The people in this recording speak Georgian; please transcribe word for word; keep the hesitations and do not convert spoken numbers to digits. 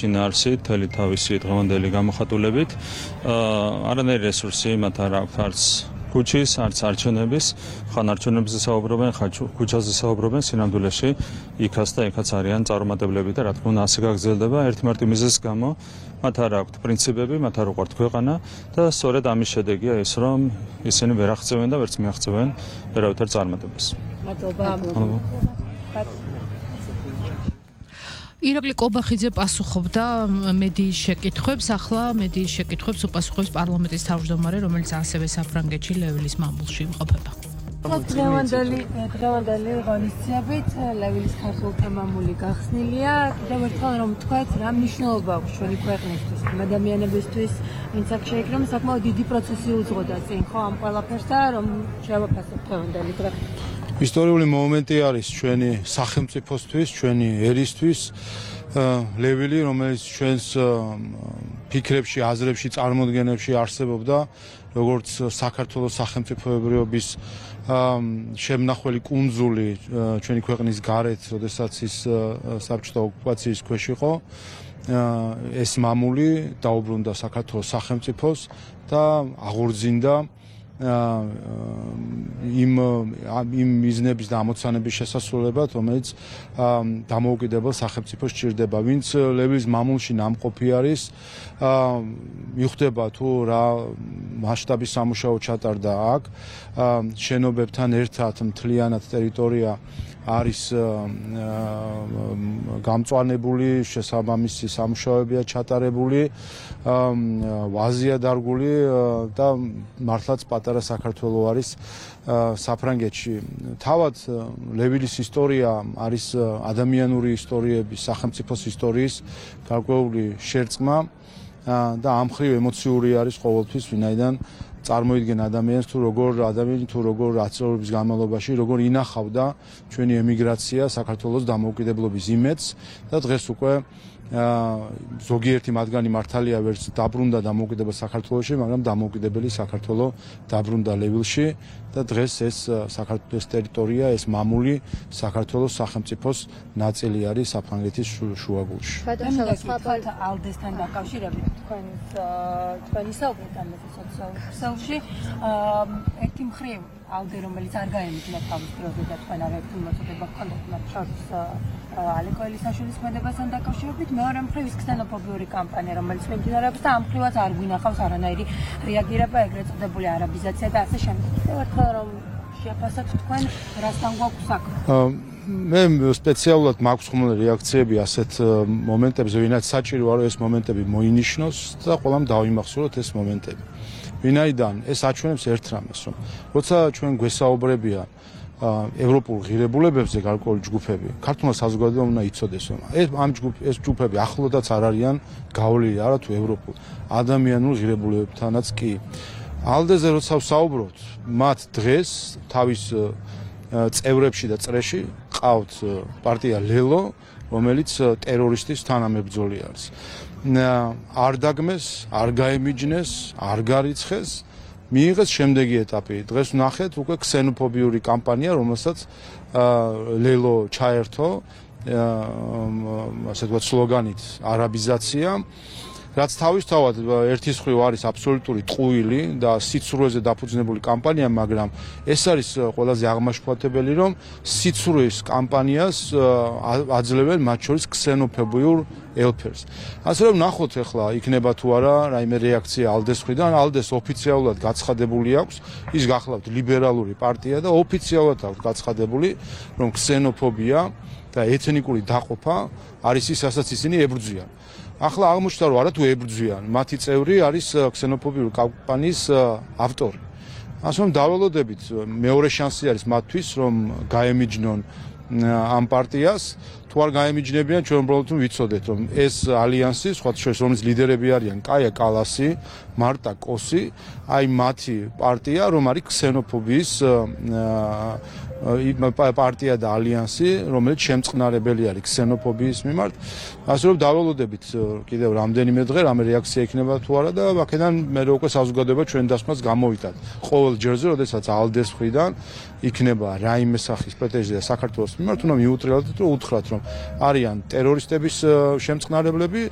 შინაარსით, მთელი თავისი დღევანდელი გამოხატულებით. არანაირი რესურსი მათ არ აქვს არც ქუჩის, არც არჩევნების, ხან არჩევნებზე საუბრობენ, ხან ქუჩაზე საუბრობენ, სინამდვილეში იქაც და იქაც არიან წარუმატებლები და რა თქმა უნდა ასე გაგრძელდება ერთმარტი მიზეზის გამო. მათ არ აქვთ პრინციპები, მათ არ უყვართ ქვეყანა და სწორედ ამის შედეგია ის, რომ ისინი ვერ აღწევენ და ვერც მიაღწევენ ვერავითარ წარმატებას. მადლობა. ირაკლი კობახიძე პასუხობდა მედიის შეკითხვებს, ახლა მედიის შეკითხვებს უპასუხებს პარლამენტის თავმჯდომარე, რომელიც ასევე საფრანგეთში ლევილის მამულში იმყოფება. დღევანდელი დღევანდელი ღონისძიებით ლევილის ქართველთა მამული გახსნილია. კიდევ ერთხელ რომ თქვათ, რა მნიშვნელობა აქვს ჩვენი ქვეყნისთვის, ადამიანებისთვის, ვინც აქ შეიქმნა, საკმაოდ დიდი პროცესი უძღოდა წინ, ხო, ამ ყველაფერს და რომ შევაფასებთ დღევანდელი დღე. ისტორიული მომენტი არის ჩვენი სახელმწიფოსთვის, ჩვენი ერისთვის, ლევილი, რომელიც ჩვენს ფიქრებში, აზრებში, წარმოდგენებში არსებობდა, როგორც საქართველოს სახელმწიფოებრიობის შემნახველი კუნძული ჩვენი ქვეყნის გარეთ, როდესაც ის საბჭოთა ოკუპაციის ქვეშ იყო, ეს მამული დაუბრუნდა საქართველოს სახელმწიფოს და აღორძინდა იმ იმ მიზნების და ამოცანების შესასრულებლად, რომელიც დამოუკიდებელ სახელმწიფოს სჭირდება. ვინც ლევილის მამულში ნამყოფი არის, მიხვდება თუ რა მასშტაბის სამუშაო ჩატარდა აქ, შენობებთან ერთად მთლიანად ტერიტორია არის გამწვანებული, შესაბამისი სამუშაოებია ჩატარებული, ვაზია დარგული და მართლაც პატარა საქართველო არის საფრანგეთში. თავად ლევილის ისტორია არის ადამიანური ისტორიების, სახელმწიფოს ისტორიის გარკვეული შერწყმა და ამ მხრივ ემოციური არის ყოველთვის, ვინაიდან წარმოიდგენ ადამიანს თუ როგორ ადამიანი თუ როგორ ათწლეულების განმავლობაში როგორ ინახავდა ჩვენი ემიგრაცია საქართველოს დამოუკიდებლობის იმედს და დღეს უკვე ზოგიერთი მათგანი მართალია ვერც დაბრუნდა დამოუკიდებელ საქართველოში, მაგრამ დამოუკიდებელი საქართველო დაბრუნდა ლევილში და დღეს ეს საქართველოს ტერიტორია, ეს მამული საქართველოს სახელმწიფოს ნაწილი არის საფრანგეთის შუაგულში. გადასახადად ალდესთან დაკავშირებით თქვენს თქვენი საუბრით ამაზე სოციალში ერთი მხრივ ალდე რომელიც არ გაემიჯნა თავის დროზე და თქვენ არ ერთი მოწოდება გქონდათ მათ შორის ალეკო ელისაშვილის ქმედებასთან დაკავშირებით, მეორე მხრივ ის ქსენოფობიური კამპანია, რომელიც მიმდინარეობს და ამ მხრივაც არ გვინახავს არანაირი რეაგირება, ეგრეთ წოდებული არაბიზაცია და ასე შემდეგ. ერთხელ რომ შეაფასოთ თქვენ, რასთან გვაქვს საქმე? მე სპეციალურად მაქვს ხმული რეაქციები ასეთ მომენტებზე, ვინაც საჭირო არის ეს მომენტები მოინიშნოს და ყველამ დავიმახსოვროთ ეს მომენტები. ვინაიდან ეს აჩვენებს ერთ რამეს, რომ როცა ჩვენ გვესაუბრებიან ევროპულ ღირებულებებზე გარკვეული ჯგუფები, ქართულმა საზოგადოებამ უნდა იცოდეს, რომ ეს ამ ჯგუფ ეს ჯგუფები ახლოდაც არ არიან გავლილი არა თუ ევროპულ ადამიანურ ღირებულებებთანაც კი. ალდეზე როცა ვსაუბრობთ, მათ დღეს თავის წევრებში და წრეში ყავთ პარტია ლელო, რომელიც ტერორისტის თანამებრძოლი არის. არ დაგმეს, არ გაემიჯნეს, არ გარიცხეს, მიიღეს შემდეგი ეტაპი. დღეს ვნახეთ უკვე ქსენოფობიური კამპანია, რომელსაც ლელო ჩაერთო, ასე ვთქვათ, სლოგანით არაბიზაცია, რაც თავისთავად ერთის მხრივ არის აბსოლუტური ტყუილი და სიცრუეზე დაფუძნებული კამპანია, მაგრამ ეს არის ყველაზე აღმაშფოთებელი, რომ სიცრუის კამპანიას აძლევენ მათ შორის ქსენოფობიურ ელფერს. ასე რომ ნახოთ ახლა იქნება თუ არა რაიმე რეაქცია ალდეს მხრიდან. ალდეს ოფიციალურად გაცხადებული აქვს, ის გახლავთ ლიბერალური პარტია და ოფიციალურად აქვს გაცხადებული, რომ ქსენოფობია და ეთნიკური დაყოფა არის ის, რასაც ისინი ებრძვიან. ახლა აღმოჩნდა რომ არა თუ ებრძვიან, მათი წევრი არის ქსენოფობიური კამპანიის ავტორი. ასე რომ დაველოდებით მეორე შანსი არის მათთვის, რომ გაემიჯნონ ამ პარტიას. თუ არ გაემიჯნებიან, ჩვენ უბრალოდ ვიცოდეთ, რომ ეს ალიანსი, სხვა შორის რომლის ლიდერები არიან კაია კალასი, მარტა კოსი, აი მათი პარტია, რომ არის ქსენოფობიის პარტია და ალიანსი, რომელიც შემწყნარებელი არის ქსენოფობიის მიმართ. ასე რომ დაველოდებით კიდევ რამდენიმე დღე რამე რეაქცია იქნება თუ არა და აქედან მე უკვე საზოგადოება ჩვენ დასკვნას გამოვიტანთ. ყოველ ჯერზე, როდესაც ალდეს მხრიდან იქნება რაიმე სახის პრეტენზია საქართველოს მიმართ, უნდა მიუტრიალოთ და უთხრათ, რომ არიან ტერორისტების შემწყნარებლები